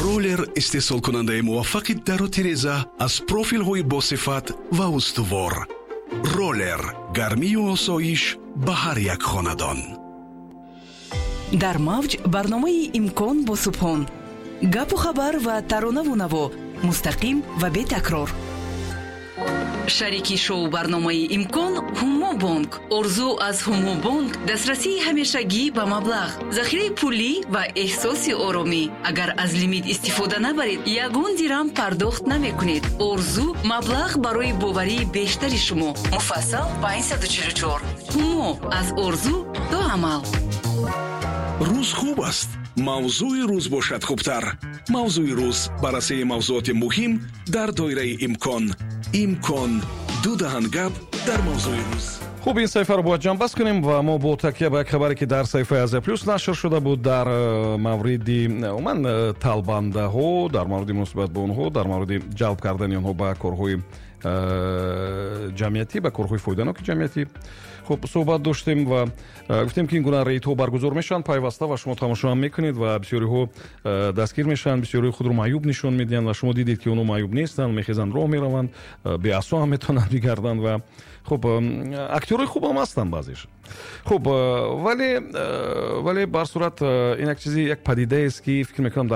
Роллер, истеҳсолкунандаи муваффақи дару тиреза аз профилҳои босифат ва устувор. Роллер, гармию осоиш ба ҳар як хонадон. Дар мавҷ барномаи «Имкон» бо Субҳон. Гапу хабар ва таронаву наво мустақим ва бетакрор. Шарики шоу барномаи «Имкон» «Ҳумо бонк». Орзу аз «Ҳумо бонк» дастрасии ҳамешагӣ ба маблағ, захираи пулӣ ва эҳсоси оромӣ. Агар аз лимит истифода набаред, ягон дирам пардохт намекунед. Орзу, маблағ барои боварии бештари шумо. Муфассал 544. «Ҳумо», аз орзу то амал. Рӯз хуб аст, мавзӯи рӯз бошад хубтар. «Мавзӯи рӯз», баррасии мавзӯоти муҳим дар доираи имкон. «Имкон», ду даҳан гап дар мавзӯи рӯз. Хуб, ин саҳифаро бояд ҷамъбаст кунем ва мо бо такя ба як хабаре, ки дар саҳифаи «Азия Плюс» нашр шуда буд, дар мавриди умуман талбандаҳо, дар мавриди муносибат бо онҳо, дар мавриди ҷалб кардани онҳо ба корҳои ҷамъиятӣ, ба корҳои фоиданоки ҷамъиятӣ, хуб, суҳбат доштем ва гуфтем, ки ин гуна рейдҳо баргузор мешаванд пайваста ва шумо тамошо ҳам мекунед ва бисёриҳо дастгир мешаванд, бисёриҳо худро маъюб нишон медиҳанд ва шумо дидед, ки онҳо маъюб нестанд, мехезанд, роҳ мераванд, беасо ҳам метавонанд бигарданд ва хуб, актёрои хуб ҳам ҳастанд баъзеш. Хуб, вале ба ҳар сурат ин як чизи, як падидаест, ки фикр мекунам